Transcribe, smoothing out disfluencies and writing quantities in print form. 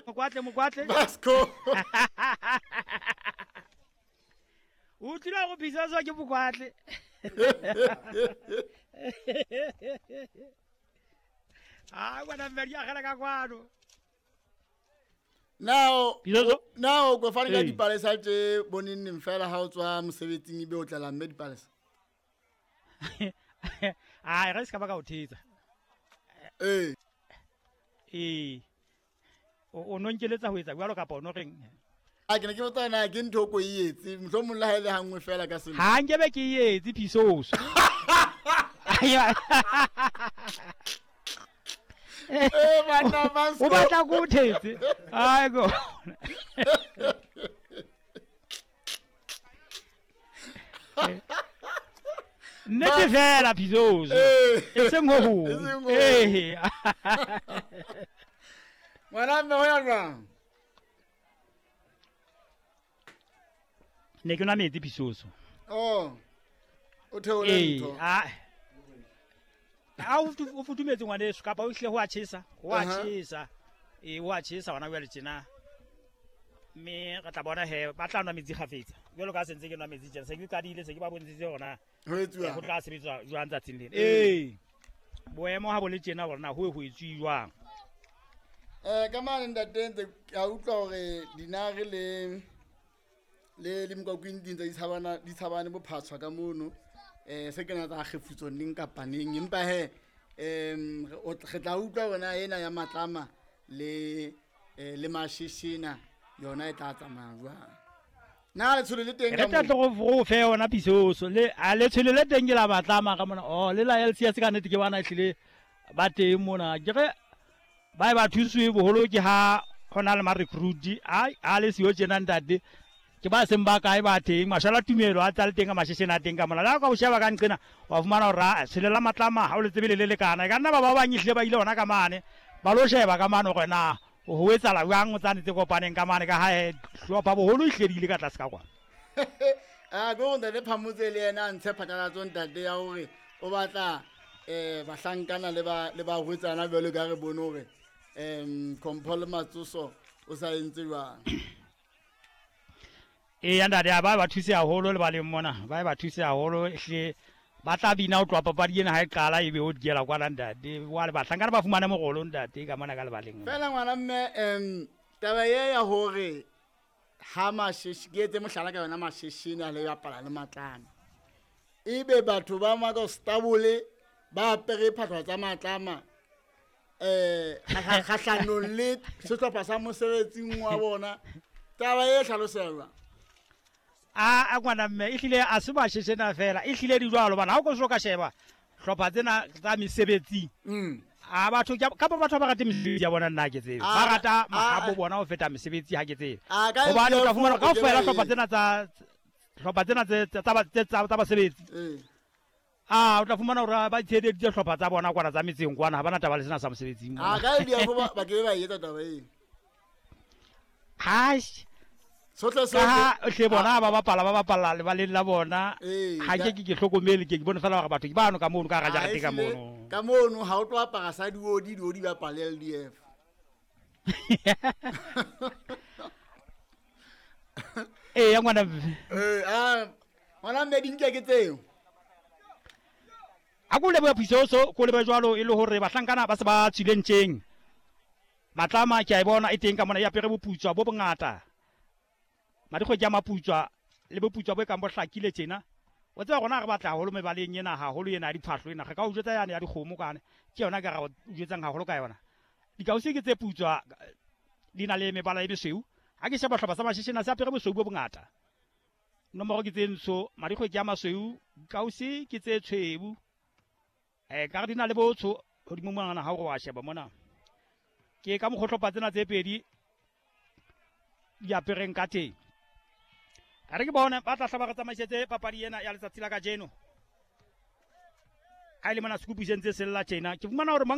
Mokwatle, mokwatle. Vasco. O tlile go phisaswa ke mokwatle. A ngwana mme di agela ka kwano. Now, Phisoso? now ko fane ka Ee. dipalesa tse boneng fela ha o tswa mosebetsing ebe o tlela mme dipalesa. Ai, ga se ka ba ka o thetsa. Ee. Ee. O no nkeletsa ho etsa jwalo kapa o no reng? A ke ne ke botsa na ke ntho o ko e etse mohlomong le ha e le hanngwe fela ka selemo. Ha nkebe ke e etse Phisoso. Eh, banna Vasco. O batla ko o thetse. Ai go. Nnete fela Phisoso. Ee. E seng ho hong. E seng ho hong. Ee. Ngwana mme ho ya jwang? Ne ke nwa metsi Phisoso. Oh. O theole Ee, ntho. a a o futhumetse ngwaneso kapa o hlile ho a tjhesa, ho a tjhesa. Ee, ho a tjhesa hona jwale tjena. Mme re tla bona he ba tla nwa metsi kgafetsa. Jwalo ka ha sentse ke nwa metsi tjena, se ke qadile se ke ba bontshitse hore na Ho etsuwa. ho tla sebetswa jwang tsatsing lena. Ee. Boemo ha bo le tjena hore na ho ho etsuwe jwang. Ka mane ntate ntse ka utlwa hore dinare le le le mokwakwing di ntse di tshabana di tshabane bophatshwa ka mono. Se kena tsa kgefutso neng kapa neng empa he re tla utlwa hore ena ya matlama le le mashishina yona e tla tsamaya jwang. Na letsholo le teng Re ka tla moo? tlo go fe yona Phisoso le a letsholo le teng ke la matlama ka mona. Oh, le la LCS ka nnete ke bana ehlile ba teng mona. Ke re ba e ba thuswe boholo ke ha hona le ma recruit a le siyo tjena ntate. Ke ba seng ba kae ba teng mashala tumelo a tsa le teng ka masheshena a teng ka mona. Le ha ka o sheba ka nqena wa fumana hore a tshele la matlama ha o le tsebe le le lekana. E ka nna ba ba bang ehlile ba ile hona ka mane ba lo sheba ka mane hore na ho etsahala jwang tsane tse kopaneng ka mane ka ha hlopha boholo ehlile di ile ka tlase ka kwana. A ke hore ntate Phamotse le yena a ntshe phatlalatso ntate ya hore o batla bahlankana le ba le barwetsana jwalo ka re bone hore Kompho le Matsoso o sa entse jwang. Ee, ntate, a ba ba thuse haholo le baleng mona, ba ba thuse haholo ehlile ba tla bina ho tloha papadi ena ha e qala ebe o diela kwana ntate. Jwale bahlankana ba fumane morolo ntate ka mona ka lebaleng. Fela ngwana mme taba e ya hore ha masheshi ke etse mohlala ka yona masheshene a le bapala le matlama. Ebe batho ba Makostabole ba apere phahlo tsa matlama kgahlanong le sehlopha sa mosebetsing wa bona. Taba e hlaloselwa. A ngwana mme ehlile a se masheshena fela, ehlile di jwalo bana. Ha o ko so ka sheba hlopha tsena tsa mesebetsing. A batho kapa batho ba rate mesebetsi ya bona nna ke tsebe. Ba rata mahabo bona ho feta mesebetsi ha ke tsebe. Hobane o tla fumana kaofela hlopha tsena tsa hlopha tsena tse tsa tsa basebetsi. A o tla fumana hore ba tsheheditse hlopha tsa bona kwana tsa metseng kwana ha bana taba le sena sa mosebetsing. A ka LDF ba ke ba etsa taba eo. Ha sohle ka ha hle bona ba bapala ba bapala lebaleng la bona. Ha ke ke hlokomele ke bone fela hore batho ke bano ka mono ka raja ka mono. Ka mono ha o tlo apara sa diodi diodi ba pale LDF. Ee ya ngwana. Ngwana mme di nke ke tseo. A ko leboha Phisoso, ko leboha jwalo e le hore bahlankana ba se ba tswileng tjeng. Matlama ke a e bona e teng ka mona e apere boputswa bo bongata. Madikgwe ke a maputswa le boputswa bo e kang bo hlakile tjena. O tseba rona re batla haholo mebaleng ena haholo ena ya diphahlo ena. Re ka o jwetsa yane ya dikgomo kane. Ke yona ka re o jwetsang haholo ka yona. Dikausi ke tse putswa di na le mebala e mesweu. Ha ke sheba hlopha sa masheshena se apere bosweu bo bongata. Nomoro ke tse ntsho, madikgwe ke a masweu, dikausi ke tse tshweu. Ka re di na le botsho hodimo mona ha o re wa sheba mona. Ke ka mokgwa hlopha tsena tse pedi di apereng ka teng. A re ke bone ba tla hlaba re tsamaisetse papadi ena ya letsatsi la kajeno. Ha e le mona sekupu se ntse se lla tjena, ke fumana hore mang